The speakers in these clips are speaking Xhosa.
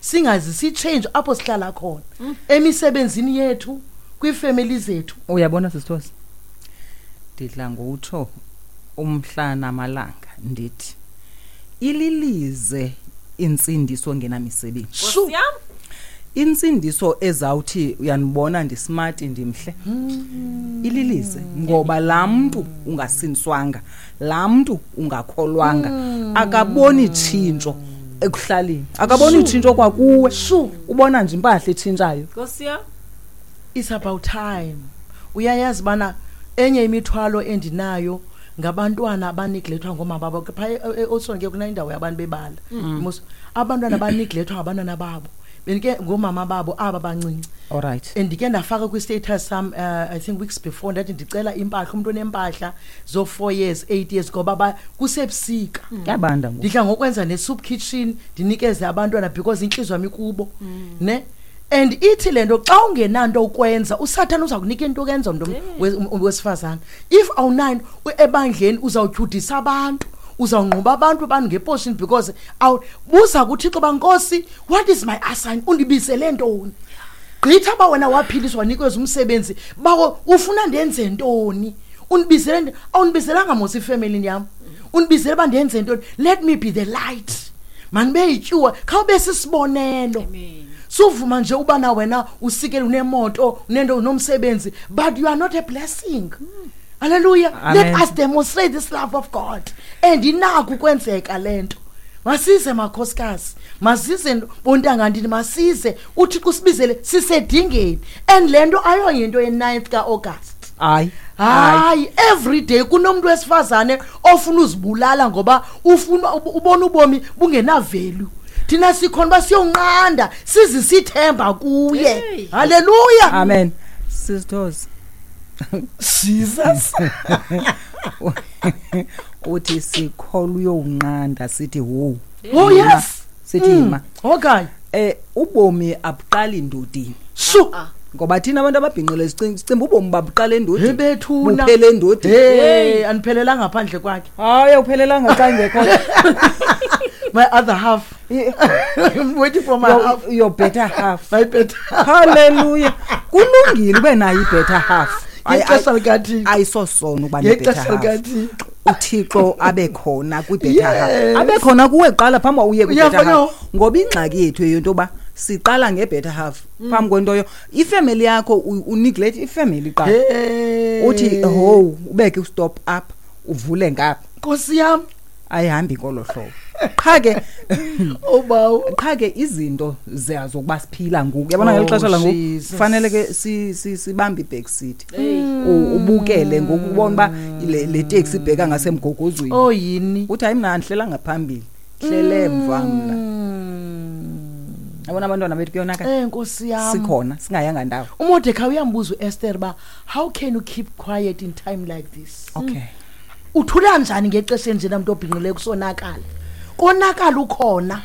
Singazisi change apho sihlala khona, emisebenzini yethu, kwiifemeli zethu. Uyabona, sisithosi, ndidla ngokutsho umhla namalanga ndithi ililize intsindiso engenamisebenzi. Shu. Nkosi yam. Intsindiso ezawuthi uyanibona ndismart, ndimhle, ililize, ngoba laa mntu ungasindiswanga, laa mntu ungakholwanga, akaboni tshintsho ekuhlaleni, akaboni tshintsho kwakuwe. Shu. Ubona nje impahla etshintshayo. Nkosi yam. It's about time. Uyayazi bana enye imithwalo endinayo ngabantwana abaneglethwa ngoomama babo phaa eOdson ke, kuna indawo yabantu bebala. Mos abantwana abaneglethwa ngabantwana babo, bendike ngoomama babo aba bancinci. Allright. Ndike ndafaka kwi-status sam, I think weeks before, ndathi ndicela impahla, umntu onempahla zo-4 years, 8 years, ngoba kusebusika. Kuyabanda ngoku. Ndidla ngokwenza ne-soup kitchen, ndinikeze abantwana because intliziyo yam ikubo, ne. And ithi le nto, xa ungenanto ukwenza, usathana uza kunika into okwenza, mntu wesifazane. If awunayo ebandleni, uzawutyhudisa abantu, uzawungquba abantu ngeportion, because buza kuThixo uba, "Nkosi, what is my assign? Undibizele ntoni? Gqitha uba wena waphiliswa, wanikezwa umsebenzi bawo, ufuna ndenze ntoni? Undibizele awundibizelanga mos ifemelini yam, undibizele uba ndenze ntoni? Let me be the light, manibe yityuwa, khawube sisibonelo." Amen. Suvuma nje ubana wena usikele, unemoto, unento, unomsebenzi, but you are not a blessing. Hallelujah. Amen. Let us demonstrate this love of God, and inako ukwenzeka le nto. Masize makhosikazi, masize bontanga ndini, masize. UThixo usibizele, sisedingeni, and le nto ayoyinto ye-9th ka-August. Hayi. Hayi, every day kunomuntu wesifazane ofuna uzibulala ngoba ufuna ubona ubomi bungena-value. Thina sikhona uba siyonqanda, sizisithemba kuye. Hey. Haleluya. Amen, sisithosi. Jesus. Uthi sikholwa uyowunqanda, sithi hu. Oh yes. Sithi yima. Okay. Ubomi abuqali ndodini. Shu. Ngoba thina abantu ababhinqile sicimba ubomi babuqala endodini. Hebethuna. Buphele endodini. Hey, andiphelelanga ngaphandle kwakhe. Hayi, awuphelelanga xa ingekho. My other half. I'm waiting for my half. Your better half. My better. Haleluya, kulungile ube nayo i-better half. Ngexesha likaThixo. Ayisosono ukuba ne-better Ngexesha half. likaThixo. UThixo abe khona kwi-better half. Yes. Abe khona kuwe kuqala phambi uba uye kwi-better Uyafana. half, ngoba ingxaki yethu yento yoba siqala nge-better half phambi kwento ifemeli yakho, uneglect ifemeli qala. Hey. Uthi ho, ubeke ustop up, uvule ngapha. Nkosi yam. Ayihambi ngolo hlobo, qha ke. Obawo. Qha ke izinto zokuba siphila ngoku, yabona, ngeli Oh, xesha langoku Jesus. fanele ke sibambe i-back seat. Hey. Ubukele ngoku, ubona uba le teksi ibheka ngasemgogozweni. Oh yini. Uthi hayi, mna andihlela ngaphambili, hlele emva mna. Yabona abantwana bethu, kuyonakala. Nkosi yam. Sikhona singayanga ndawo. UMordecai uyambuza uEsther ba, "How can you keep quiet in time like this?" Uthula njani ngexesha enjena, mntu obhinqileyo, kusonakala? Konakala ukhona.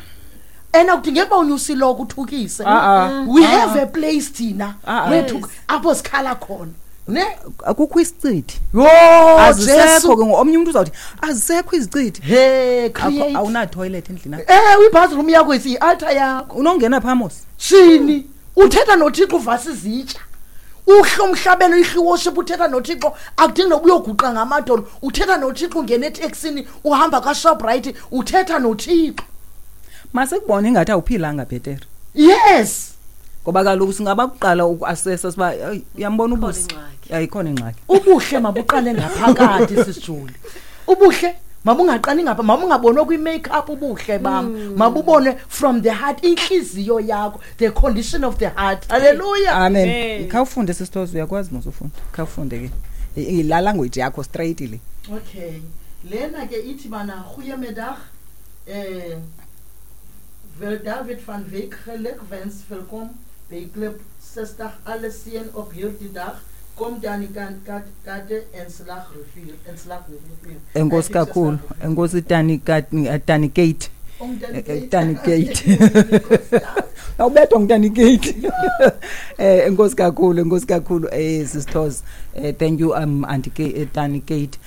Ena kudingeka uba unyuse iloko uthukise. Ah, ah. We have a place thina Ah, ah. wethu apho sikhala khona. Ne? Akukho isichithi. Yo, Azisekho Jesu. ke ngoku. Omnye umntu uzawuthi azisekho izichithi. Hey, create. Awuna-toilet endlini yakho. Ibathroom yakho isiyi-altar yakho. Unongena phaa mos. Shini, uthetha noThixo, uvasa izitya. Uhla umhlabelo, ihla worship, uthetha noThixo, akudingi noba uyoguqa ngamadolo. Uthetha noThixo, ungena eteksini, uhamba kaShoprite, uthetha noThixo. Masikubone ingathi awuphilanga bhetere. Yes. Ngoba kaloku singabakuqala ukuasesa siba, "Eyi, uyambona Ikhona ubusi." ingxaki. Ayikhona ingxaki. Ubuhle mabuqale ngaphakathi, sisijuli. Ubuhle mabungaqali ngapha, mabungabonwa kwi-makeup ubuhle bam. Mabubonwe from the heart, inhliziyo yakho, the condition of the heart. Hallelujah. Amen. Amen. Khawufunde, sisithozo, uyakwazi mos ufunda. Khawufunde ke. La language yakho straight le. Okay. Lena ke ithi bana, "Goeiemiddag. Wil David van Wyk gelukwens, welkom by Club 60. Alle seën op hierdie dag. Kom dan die kant Kate en Slagrivier en Slagrivier." Enkosi kakhulu. Enkosi Tani Tani Kate. Tani Kate. Awubethwa ngutani Kate. Enkosi kakhulu, enkosi kakhulu sisithozo. Thank you Auntie Kate, Tani Kate.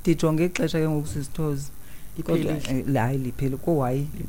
Ndijonge ixesha ke ngoku, sisithozo. Kodwa Liphelile. hayi, liphele ko hayi.